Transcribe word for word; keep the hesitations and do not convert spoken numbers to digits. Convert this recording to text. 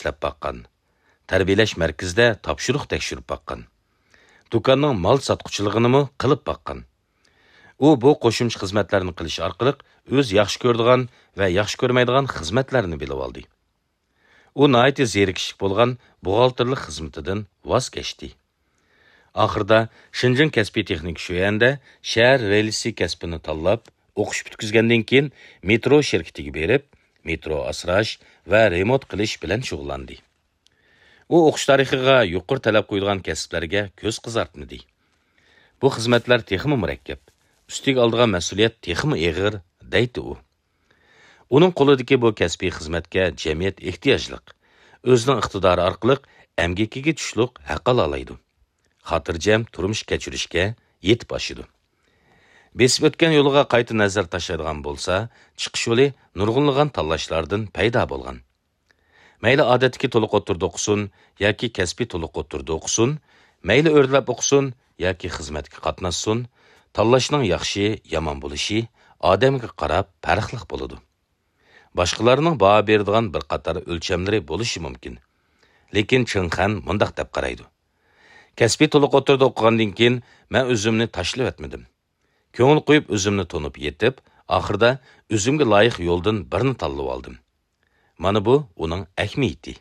ئىشلەپ باققان. تەربىيەلەش مەركىزىدە تاپشۇرۇق تەكشۈرۈپ باققان. دۇكاننىڭ مال ساتقۇچىلىقىنىمۇ قىلىپ باققان. ئۇ بۇ قوشۇمچە خىزمەتلەرنى قىلىش ئارقىلىق ئۆز ياخشى كۆرىدىغان ۋە ياخشى كۆرمەيدىغان خىزمەتلەرنى بىلىۋالدى. ئۇ ناھايىتى زېرىكىشلىك بولغان بوغالتىرلىق خىزمىتىدىن ۋاز كەچتى. ئاخىرىدا شېنجېن كەسپىي تېخنىكا شۆيەندە شەھەر رېلىسى كەسپىنى تاللاپ، ئوقۇش پۈتكۈزگەندىن كېيىن مېترو شىركىتىگە بېرىپ، مېترو ئاسراش ۋە رېمونت قىلىش بىلەن شۇغۇللاندى. ئۇ ئوقۇش تارىخىغا يۇقىرى تەلەپ قويىدىغان كەسىپلەرگە كۆز قىزارتمىدى. بۇ خىزمەتلەر تېخىمۇ مۇرەككەپ، ئۈستىگە ئالىدىغان مەسئۇلىيەت تېخىمۇ ئېغىر، دەيتتى ئۇ. ئۇنىڭ قولىدىكى بۇ كەسپىي خىزمەتكە جەمئىيەت ئېھتىياجلىق، ئۆزىنىڭ ئىقتىدارى ئارقىلىق ئەمگىكىگە چۈشلۈق ھەق ئالالايدۇ. خاتىرجەم تۇرمۇش كەچۈرۈشكە يېتىپ ئاشىدۇ. بېسىپ ئۆتكەن يولىغا قايتا نەزەر تاشلايدىغان بولسا، چىقىش يولى نۇرغۇنلىغان تاللاشلاردىن پەيدا بولغان. مەيلى ئادەتتىكى تولۇق ئوتتۇرىدا ئوقۇسۇن ياكى كەسپىي تولۇق ئوتتۇرىدا ئوقۇسۇن، مەيلى ئۆرلەپ ئوقۇسۇن ياكى خىزمەتكە قاتناشسۇن، تاللاشنىڭ ياخشى، يامان بولۇشى ئادەمگە قاراپ پەرقلىق بولىدۇ. باشقىلارنىڭ باھا بېرىدىغان بىر قاتار ئۆلچەملىرى بولۇشى مۇمكىن. لېكىن چېڭ خەن مۇنداق دەپ قارايدۇ: كەسپىي تولۇق ئوتتۇرىدا ئوقۇغاندىن كېيىن مەن ئۆزۈمنى تاشلىۋەتمىدىم. كۆڭۈل قويۇپ ئۆزۈمنى تونۇپ يېتىپ، ئاخىرىدا ئۆزۈمگە لايىق يولدىن بىرنى تاللىۋالدىم. مانا بۇ ئۇنىڭ ئەھمىيىتى.